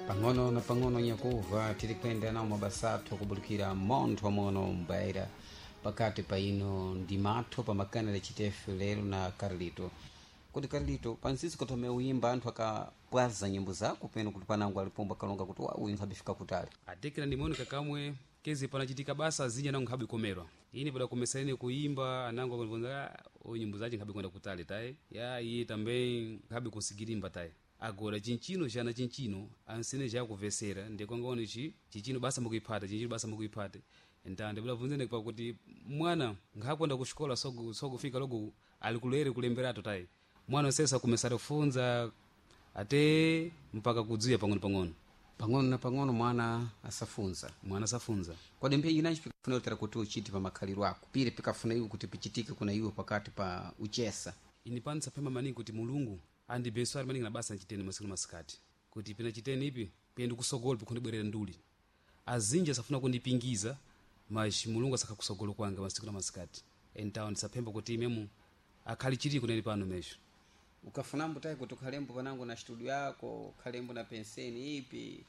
Pang'ono na pang'ono nyakuva tiri kuyenda nawo mabasa athu kubulikira montho mono mbaira pakati pa ino ndi matho pamakanela chitefe lero na Carlito. Kuti Carlito, pansisi kuthome uyimba anthu akapwaza nyimbo zako peno kuti panango alipomba kalonga kuti wa uyu nkhabifika kutali? Atekera ndimoni kakamwe kezi panachitika basa azinji anango nkhabe komerwa ini padakomesa ine kuimba, anango akunivonza uyu nyimbo zace nkhabe kwenda kutali tayi ya iye tambe nkhabe kusigirimba tayi. Agora chinchino chana chinchino ansene chakuvesera ndikwangaone chi chinchino basa mukuiphata chinchino basa mukuiphata. Nta ndibulabvunzene pakuti mwana nkhakwenda kuxikola soku sokufika logo alikulere kulemberato tayi mwana sesa kumesera kufunza ate mpaka kudziya pang'ono pang'ono. Pang'ono na pang'ono mwana asafunza. Mwana asafunza. Kodi mpheyi inanji pikafuna utera kuti uchite pa makhaliro ako pire pikafuna iwe kuti pichitike kuna iwe pakati pa uchesa? Ini pano saphema maningi kuti Mulungu andibeswari maningi na basa nchiteni masiku na masikati kuti pina chiteni ipi piye ndikusogolo pikundibwerera nduli azinji asafuna kundipingiza, mas Mulungu asakha kusogolo kwanga masiku na masikati. Então ndisaphemba kuti imemu akhali chiri kuneni pano mesho. Ukafunambo tayi kuti ukhalembo panango na studio yako, ukhalembo na penseni ipi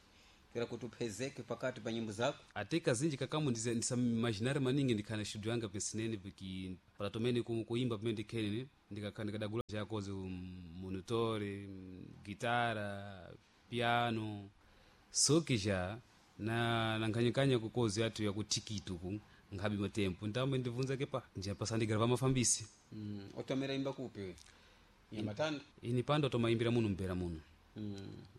pera kuti uphezeke pakati pa nyimbo zako? Ate kazinji kakamu ndisaimaginare maningi ndikhana studio yanga pensineni piki palatomene kuimba pamene ndikhenene ndikadagula chakozi monitore, gitara, piano soki ja na nankhanyakanya kukozi yathu yakutikiti uku nkhabe matempo ntambe ndibvunza kepa njapasandigrava mafambisi. Otomera imba kupi we Nyamatanda? Ini pando tomayimbira muno mbera muno.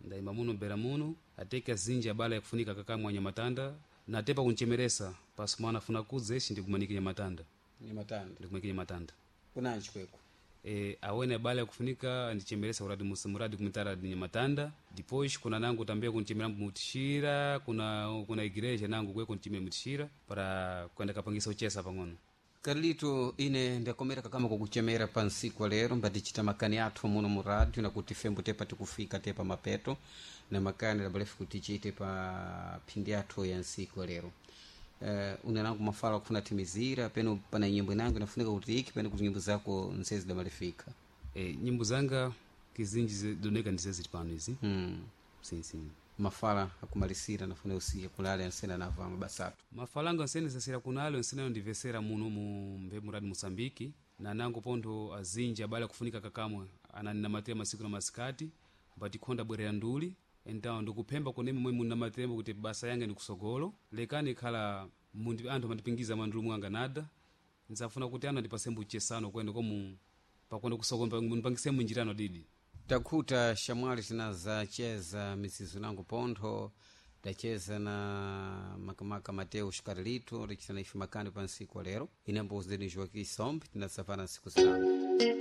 Ndayimba muno mbera muno ate kazinji abala yakufunika kakamwa Nyamatanda natepa kunchemeresa pasi mwana afuna kudza ixi ndikumanike Nyamatanda. Nyamatanda. Ndikumanike Nyamatanda. Kunanji kweko? E, awene abala yakufunika ndichemeresa uradi muradi kumitara di Nyamatanda. Depois kuna nangu tambia kunchemera mutishira kuna igreja nangu kwe kunchemera mutishira para kwenda kapangisa uchesa pang'ono. Carlito, ine ndakomera kakama kukuchemera pa nsiku wa lero mbatichita makani athu muno mu radio nakuti fembo tepa tikufika tepa mapeto na makani labalefu kuti tichite pa phindi athu ya nsiku wa lero. Una nangu mafala akufuna timizira peno pana nyimbo inango inafunika kuti iki peno kuti nyimbo zako nsezi damalifika? E, nyimbo zanga kizinji doneka ndizeziti pano izi. Sim, sim. Mafala akumalisira nafuna usiye kulale ansena nava mabasa athu. Mafalanga nsene sasira kunalo nsene ndivesera muno mu mbe muradi Moçambique na nango pontho azinji abale akufunika kakamwe ananinamatira masiku na masikati mbatikhonda bwerera nduli. Então ndikuphemba kunemi momwe munamatirembo kuti basa yange ndikusogolo lekani khala mundi anthu amandipingiza mandulu mwanga nada ndzafuna kuti anthu andipasembo uchesano kwene komu pakwenda kusogolo mundipangisemo njirano didi. Takhuta shamwali tinazacheza mizizo nangu pontho tacheza na makamaka Mateus Carlito, tichita na ife makani pa nsiku wa lero. Ine mbozi deni Joaquim Sombe, tinasafana nsiku zinango.